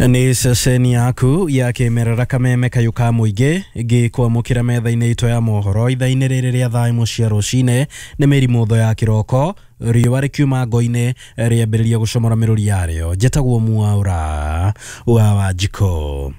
Nĩ ceceni yaku ya kĩmerera Kameme kayũ ka mũingĩ ngĩkwamũkĩra metha-inĩ itũ ya mohoro ithaa-inĩ rĩrĩ rĩa thaa ĩmwe cia rũcinĩ. Nĩ mĩrimũtho ya kĩroko, riũa rĩkiuma ngo-inĩ rĩambĩrĩria gũcomora mĩrũri yarĩo. Njĩtagwo Mwaũra wa Wanjikũ.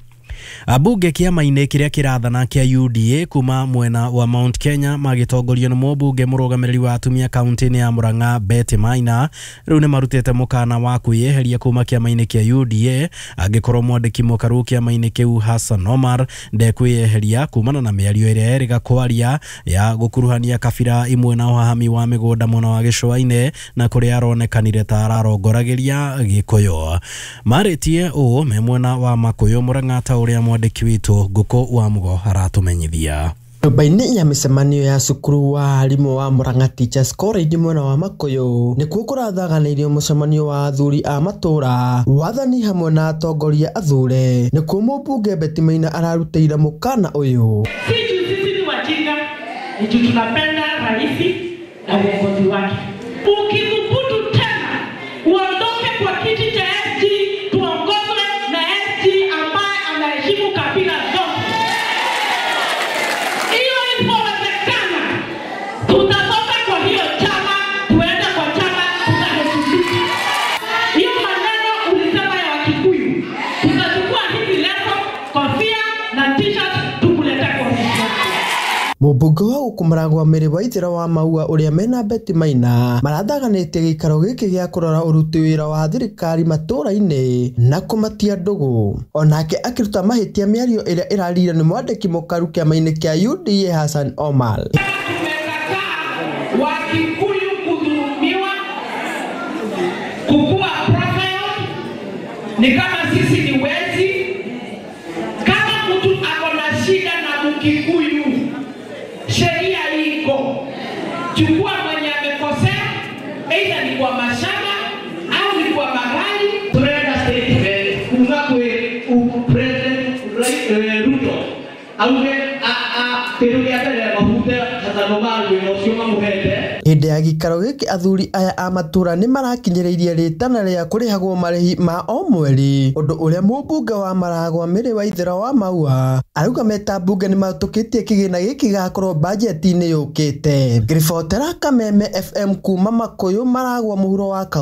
Ambunge kĩama-inĩ kĩrĩa kĩrathana kĩa UDA kuma mwena wa Mount Kenya magĩtongorio nĩ mũmbunge mũrũgamĩrĩri wa atumia kaunti-inĩ ya Murang'a Betty Maina rĩu nĩ marutĩte mũkana wa kwĩyeheria kuma kĩama-inĩ kĩa UDA angĩkorwo mwandĩki mũkaru kĩama-inĩ kĩu Hassan Omar ndekwĩyeheria kumana na mĩario ĩrĩa erĩga kwaria ya gũkuruhania kabira imwe na ũhahami wa mĩgũnda mwena wa gĩcũa-inĩ na kũrĩa aronekanire ta ararongoragĩria Gĩkũyũ. Marĩtie ũũ me mwena wa Makũyũ Murang'a ta ũrĩa mwandĩki witũ Ngũkũ wa Mũgo aratũmenyithia. Nyũmba-inĩ ya mĩcemanio ya cukuru wa arimũ wa Murang'a Teachers College mwena wa Makũyũ nĩkuo kũrathaganĩirio mũcemanio wa athuri a matũra, wathani hamwe na atongoria athure. Nĩkuo mũmbunge Betty Maina ararutĩire mũkana ũyũ. Si juu sisi ni wajinga, ni juu tunapenda rais na uongozi wake. Ukithubutu tena uondoke kwa kiti cha SG, tuongozwe na SG ambaye anaheshimu kabila zote. Hiyo isipowezekana, tutatoka kwa hiyo chama tuende kwa chama tutaheshimika. Hiyo maneno ulisema ya Wakikuyu, tutachukua hizi leso, kofia na t-shirt tukuletea kwa ofisi yako. Mũmbunge wa gũkũ Maragwa Mĩrĩ Waithĩra wa Maua ũrĩa mena Betty Maina marathaganĩtie gĩikaro gĩkĩ gĩa kũrora ũruti wĩra wa thirikari matũra-inĩ na kũmatia ndũgũ. Onake akĩruta mahĩtia mĩario ĩrĩa ĩraririo nĩ mwandĩki mũkaru kĩama-inĩ kĩa UDA Hassan Omar. Tumekataa Wakikuyu kudhulumiwa, kukua profile ni kama sisi ni wezi. Kama mtu ako na shida na Mkikuyu, sheria iko, chukua mwenye amekosea, aidha ni kwa mashamba au ni kwa magari. Turenda statement kuma kwi President Ruto auge kĩndũ kĩa mbere mahute Hassan Omar wĩra ũcio mamũhete. Hĩndĩ ya gĩikaro gĩkĩ athuri aya a matũra nĩ marakinyĩrĩirie rĩtana rĩa kũrĩhagwo marĩhi ma o mweri, ũndũ ũrĩa mũmbunge wa Maragwa Mĩrĩ Waithĩra wa Maua arauga meta mbunge nĩ mahĩtũkĩtie kĩgĩna gĩkĩ gĩgakorwo bajeti-inĩ yũkĩte. Ngĩribotera Kameme FM kuma Makũyũ, Maragwa mũhuro wa